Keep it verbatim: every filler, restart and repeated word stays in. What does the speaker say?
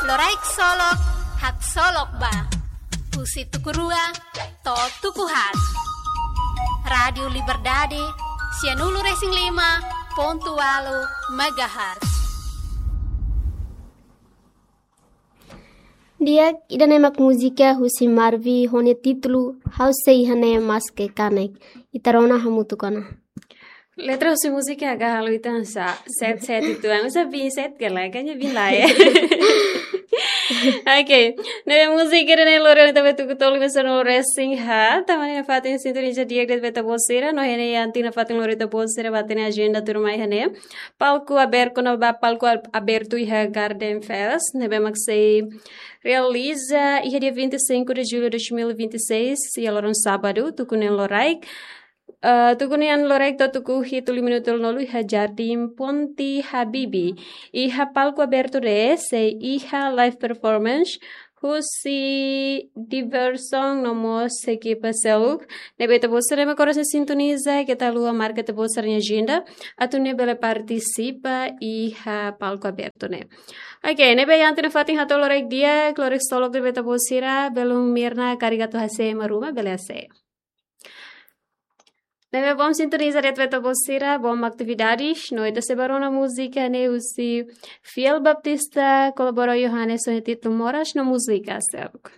Loraik Solok, haksolok ba. Husi tuku rua to'o tuku haat. Rádiu Liberdade, sianulu-resin-lima pontu ualu megahertz. Di'ak, ida-ne'e mak múzika husi Marvi ho nia títulu Ha'u sei iha ne'e maske kanek. Ita rona hamutuk ona. Letra husi múzika agak halo ita hanesan sete sete itu, hanesan bin sete ka lae, kayaknya bin lae. Oke, ne'e múzika ida-ne'e lori ona ita ba tuku tolu menit sanulu-resin-haat, tama ona iha fatin sintoniza di'ak de'it ba ita-boot sira, no iha ne'e iha ita-nia fatin lori ita-boot sira ba hatene ajenda tuirmai iha ne'e. Palku abertu, no ba palku ab-, abertu iha Garden Fest, ne'ebé mak sei realiza iha dia vinte e cinco de julho de dois mil e vinte e seis, iha loron sábadu, tuku neen loraik. Eh, tuku neen loraik to'o tuku hitu lima minutu tolunulu iha Jardim Ponte Habibie. Iha palku abertu ne'e sei iha live performance husi Diversão no mós ekipa seluk. Ne'ebé ita-boot sira mak oras ne'e sintoniza, keta haluha marka ita-boot sira-nia ajenda, atu nune'e bele partisipa iha palku abertu ne'e. Oke, ne'ebé iha ita-nia fatin hato'o loraik di'ak, loraik solok de'it ba ita-boot sira, belun Mirna karik atu hase'e ema ruma, bele hase'e. Ne'ebé bom sintoniza de'it ba ita-boot sira, bom atividades, no ita sei bá rona múzika ne'e husi Fiel Baptista, kolabora Johannes ho nia títulu Moras no múzika seluk.